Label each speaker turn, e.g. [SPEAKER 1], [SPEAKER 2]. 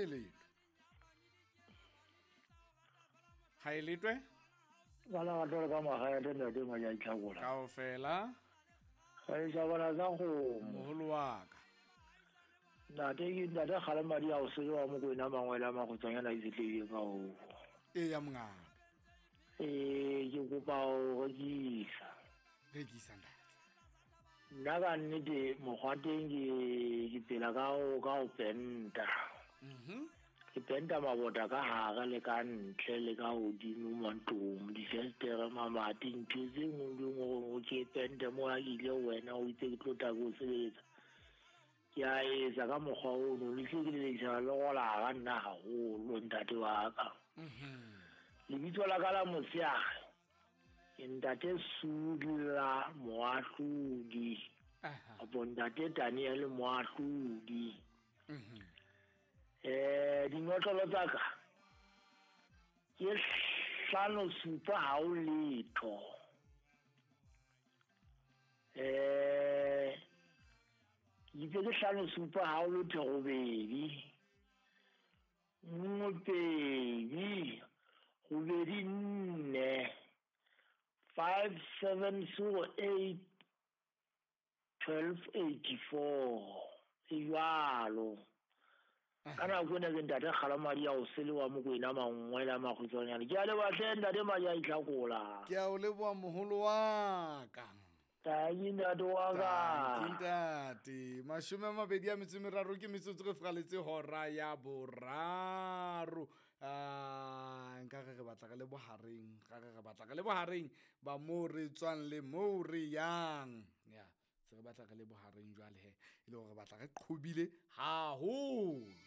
[SPEAKER 1] E letwe. Ha e letwe?
[SPEAKER 2] Bana ba tlo ka magae le ntate Maja Itlhakola.
[SPEAKER 1] Kaofela.
[SPEAKER 2] Ga e sa bona tsa kgomo.
[SPEAKER 1] Moholo wa ka.
[SPEAKER 2] Ntate ke ntate Kgalemadi a o sele wa Mokwena Mangwele a Makgotswanyana a itshetlehile ka ho.
[SPEAKER 1] Eya mongaka.
[SPEAKER 2] Ee, ke kopa ho rekisa.
[SPEAKER 1] Rekisa ntate.
[SPEAKER 2] Nna ka nnete mokgwa teng ke ke phela ka ho ka ho penta. Ke penta mabota ka hare le ka ntle le ka hodimo mantlong, difenstere, mamati, ntho tse nngwe le nngwe hore ke pente mo ha ke ile ho wena o itse ke tlo tla ke o sebetsa. Ke a etsa ka mokgwa ono le tle ke lelekisana le rolara nna haholo ntate wa ka. Lebitso la ka la motshehare ke ntate Sudla Moahlodi. Kapo ntate Daniel Moahlodi. Dinotlolo tsa ka ke 5 7 ha o letho. Ke itse ke 5 7 ha o letho 8. 1 2 8 4 5 7 0 8 12 84. E jwalo. Ka nako ena ke ntate Kgalemadi a o sele wa Mokwena Mangwele a Makgotswanyana. Ke a leboha hle ntate Maja Itlhakola.
[SPEAKER 1] Ke a o leboha moholo wa ka.
[SPEAKER 2] Tanki ntate wa ka.
[SPEAKER 1] Tanki ntate. 23 ke metsotso re fraletse hora ya 3. Nka re re batla re le bohareng, ka re re batla re le bohareng ba mo re tswang le mo re yang. Ya. Se re batla re le bohareng jwale he, e le hore re batla re qhobile haholo.